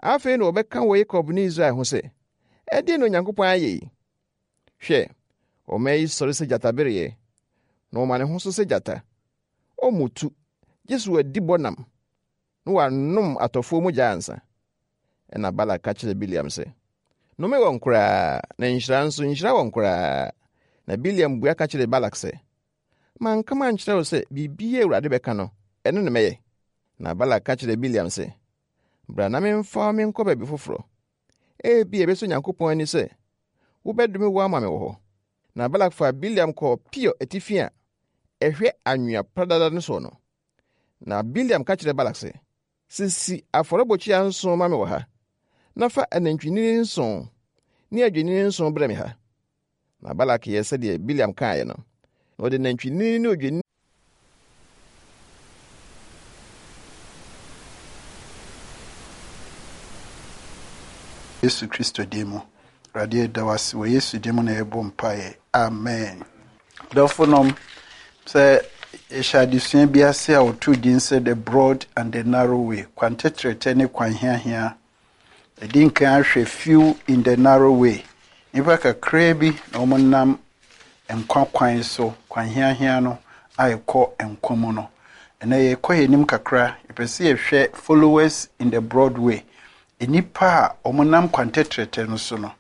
Afei na wɔbɛka wɔ Yakob ne Israel ho sɛ, Ɛdeɛn na Onyankopɔn ayɛ yi? Hwɛ, ɔman yi sɔre sɛ gyatabereɛ, na ɔma ne ho so sɛ gyata. Ɔmmutu, gye sɛ wadi bɔnam, na wanom atɔfoɔ mogya ansa. Ɛnna Balak ka kyerɛɛ Bileam sɛ, Nnome wɔn koraa, na nhyira nso, nhyira wɔn koraa. Na Bileam bua ka kyerɛɛ Balak sɛ, Manka mankyerɛ wo sɛ biribiara a Awurade bɛka no, ɛno na mɛyɛ? Na Balak ka kyerɛɛ Bileam sɛ, Bra na memfa wo menkɔ baabi foforɔ. Ebia ɛbɛsɔ Onyankopɔn ani sɛ wobɛdome wo ama me wɔ hɔ. Na Balak faa Bileam kɔɔ Peor atifi a ɛhwɛ anwea pradada no soɔ no. Na Bileam ka kyerɛɛ Balak sɛ, Sisi afɔrebukyia nson ma me wɔ ha, na fa anantwinini nson ne adwennini nson brɛ me ha. Na Balak yɛɛ sɛdeɛ Bileam kaeɛ no, na ɔde nantwinini ne odwennini Yesu Kristo din mu. Awurade yɛda wo ase wɔ Yesu din mu na yɛbɔ mpaeɛ. Amen. Dɔfonom, sɛ yɛhyɛ adesua bi ase a wɔtoo din sɛ The Broad and the Narrow Way, kwan tɛtrɛtɛ ne kwan hiahia. Ɛdi nkan ahwɛ Few in the Narrow Way. Nnipa kakraa bi na wɔnam nkwa kwan so, kwan hiahia no a ɛkɔ nkwa mu no. Ɛnɛ yɛkɔ yɛn anim kakra, yɛpɛ sɛ yɛhwɛ Followers in the Broad Way. Nnipa a wɔnam kwan tɛtrɛtɛ no so no,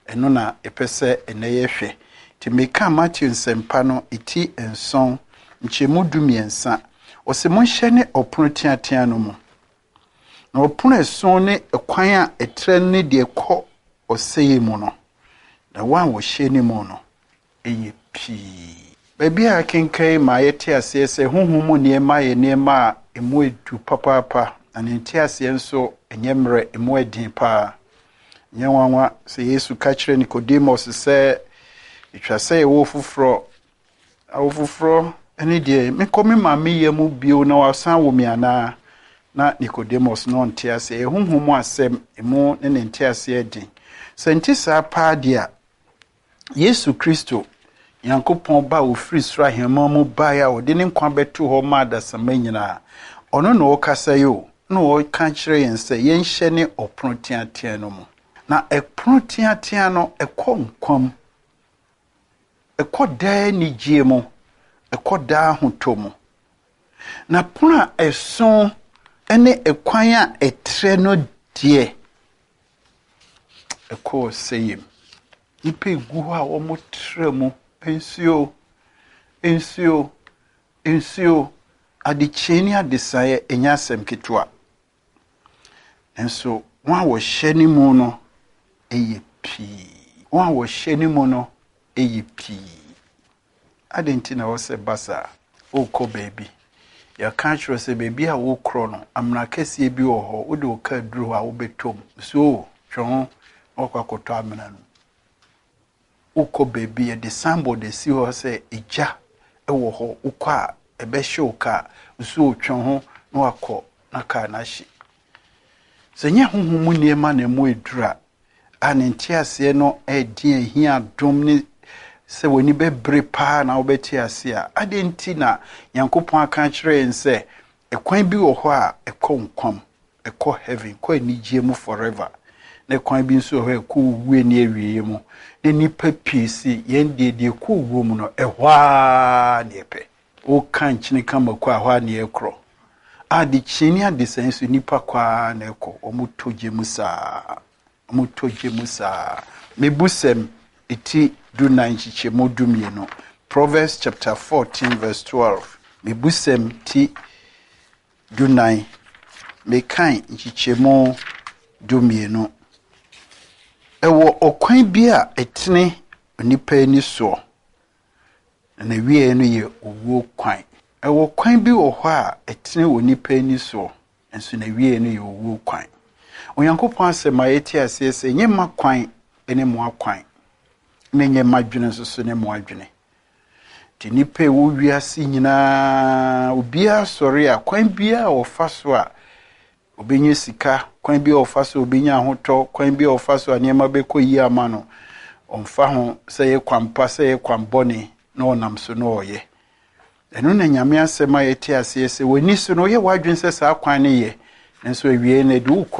ɛno na yɛpɛ sɛ ɛnɛ yɛhwɛ. Nti meka Matthew nsɛmpa no ti nson, nkyɛmu 13. Ɔse monhyɛne ɔpono teatea no mu. Na ɔpono ɛson ne ɛkwan a ɛtrɛ ne deɛ ɛkɔ ɔsɛeɛ mu no, na wɔn a wɔhyɛ ne mu no yɛ pii. Baabi a akenkan yi ma yɛte aseɛ sɛ honhom mu nneɛma yɛ nneɛma a emu edu papaapa, na ne nteaseɛ nso nyɛ mmerɛ, emu ɛden paa. Nyɛ nwanwa sɛ Yesu ka kyerɛ Nicodemus sɛ, etwa sɛ yɛwɔ foforɔ. Awo foforɔ ne deɛ, mekɔ me maame yam mu bio na wasan wo me anaa? Na Nicodemus no ɔnte aseɛ. Ɛyɛ honhom mu asɛm, emu ne ne nteaseɛ den. Sɛ nte saa paa deɛ a, Yesu Kristo, Nyankopɔn Ba a ɔfiri soro ahemman mu baeɛ a ɔde ne nkwa bɛtoo hɔ maa adasamma nyinaa, ɔno na ɔrekasa yi o, na ɔreka kyerɛ yɛn sɛ yɛnhyɛne ɔpono teatea no mu. Na ɛpono teatea no, ɛkɔ nkwa mu, ɛkɔ daa anigyeɛ mu, ɛkɔ daa ahotɔ mu. Na pono a ɛso ne ɛkwan a ɛtrɛ no deɛ, ɛkɔ ɔsɛeɛ mu. Nnipa egu hɔ a wɔtra mu. Nsuo, nsuo, nsuo. Adekyee ne adesaeɛ ɛnyɛ asɛm ketewa. Nanso wɔn a wɔhyɛ ne mu no yɛ pii. Wɔn a wɔhyɛ ne mu no yɛ pii. Adɛn nti na ɛwɔ sɛ ɛba saa? Worekɔ baabi. Yɛaka akyerɛ wo sɛ baabi a wokorɔ no, amena kɛseɛ bi wɔ hɔ. Wode wo kaa duru hɔ a, wobɛtɔ mu. So o, twe ho na wakɔ akɔtɔ amena no mu. Wokɔ baabi, yɛde signboard asi hɔ sɛ egya wɔ hɔ. Wokɔ a, ɛbɛhye wo kaa. So o, twe ho na wakɔ na kaa no ahye. Sɛ ɛnyɛ honhom mu nneɛma na ɛmu aduru a, a ne nteaseɛ no ɛden a ɛhia adom ne sɛ w'ani bɛbere paa na wobɛte ase a, adɛn nti na Nyankopɔn aka akyerɛ yɛn sɛ ɛkwan bi wɔ hɔ a ɛkɔ nkwa mu, ɛkɔ heaven, ɛkɔ anigyeɛ mu forever, na ɛkwan bi nso wɔ hɔ a ɛkɔ owuo ne awieeɛ mu, na nnipa pii se yɛn deɛ deɛ ɛkɔ owuo mu no, ɛhɔ ara na yɛpɛ. Woka nkyene ka mako a, ɛhɔ ara na yɛkorɔ. Adekyee ne adesae nso nnipa kɔ ara na ɛkɔ, wɔtɔ gya mu saa. Wɔtɔ gya mu saa. Mebusɛm ti 14 nkyekyɛmu 12. Proverbs chapter 14 verse 12. Mebusɛm ti 14, mekan nkyekyɛmu 12. Ɛwɔ ɔkwan bi a ɛtene onipa ani soɔ, na n'awieeɛ no yɛ owuo kwan. Ɛwɔ kwan bi wɔ hɔ a ɛtene onipa ani soɔ, nso n'awieeɛ no yɛ owuo kwan. Onyankopɔn asɛm ma yɛte aseɛ sɛ ɛnyɛ mma kwan ne mo akwan, na ɛnyɛ mma adwene nso so ne mo adwene. Nti nnipa a ɛwɔ wiase nyinaa, obiara sɔre a, kwan biara a ɔfa so a ɔbɛnya sika, kwan bi a ɔfa so a ɔbɛnya ahotɔ, kwan bi a ɔfa so a nneɛma bɛkɔ yie ama no, ɔmfa ho sɛ ɛyɛ kwan pa, sɛ ɛyɛ kwan bɔne, na ɔnam so na ɔyɛ. Ɛno na Nyame asɛm a yɛte aseɛ sɛ w'ani so no woyɛ w'adwene sɛ saa kwan no yɛ, nanso awiei no ɛde wo kɔ.